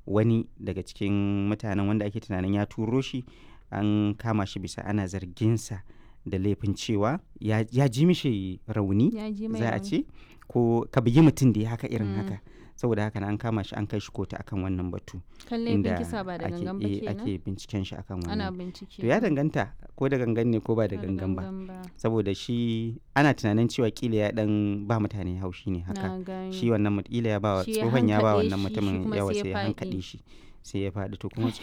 Wani daga cikin mutanen wanda ake tunanin ya turo shi, an kama shi bisa ana zarginsa da laifin cewa ya ji mishi rauni. Ya ji mai Za a rauni. ce ko ka bugi mutum da ya haka irin haka. Saboda haka nan an kama shi, an kai shi kotu akan wannan batu. Kan laifin kisa ba da gangan ba kenan. Ake binciken shi akan wannan. Ana bincike. To, ya danganta ko da gangan ne ko ba da Ba da gangan ba. Saboda shi ana tunanin cewa kila ya dan ba mutane haushi ne haka. Na gani. Shi wannan kila ya ba wa Shi ya tsohon, ya ba hankaɗe wannan shi, shi mutumin kuma yawa sai ya sai ya faɗi. hankaɗe shi, sai ya faɗi. To kuma cikin